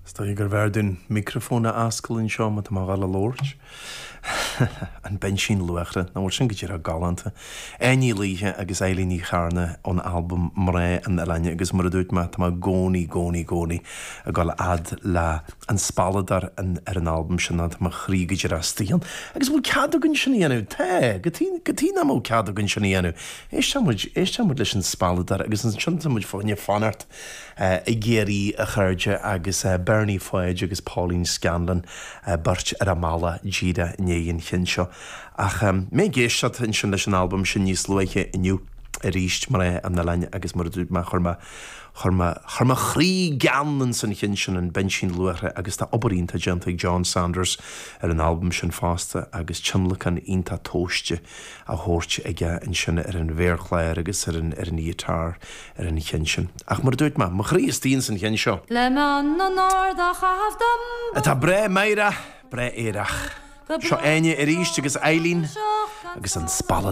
Is dóigh gurbh fhearr dúinn micreafón a oscailt anseo má tá mé a dhul a labhairt. An Binsín Luachra, nach bhfuil sin go díreach galánta? Áine Ní Laoithe agus Eilín Ní Chearna ón albam Mná an Oileáin agus mar a dúirt mé, tá mé i gcónaí, gcónaí, gcónaí ag dul a fhad le An Spealadóir ar an albam sin, tá mo chroí go díreach istigh ann. Agus bhfuil cead againn sin a dhéanamh? Tá! Cad chuige nach mbeadh cead againn sin a dhéanamh? Éisteoidh muid, éisteoidh muid leis An Spealadóir agus ansin tá muid fá choinne fanacht i gCiarraí, a chairde, agus Bernie Pháid agus Pauline Scanlon, beirt ar a mbealach díreach i ndiaidh an chinn seo. Ach mé ag éisteacht ansin leis an albam sin níos luaithe inniu arís, Mná an Oileáin, agus mar a dúirt mé, chuir mé, chuir mé, chuir mo chroí gean ins an chinn sin, an Binsín Luachra, agus tá obair iontach déanta ag John Sanders ar an albam sin fosta agus tionlacan iontach tomhaiste á thabhairt aige ansin ar an mhéarchlár agus ar an ar an ghiotár ar an cheann sin. Ach mar a dúirt mé, mo chroí istigh ins an cheann seo. Le meon an ard á chaitheamh dom. Atá breá meidhreach, breá aerach. Seo Áine arís agus Eileen agus an Spealadóir.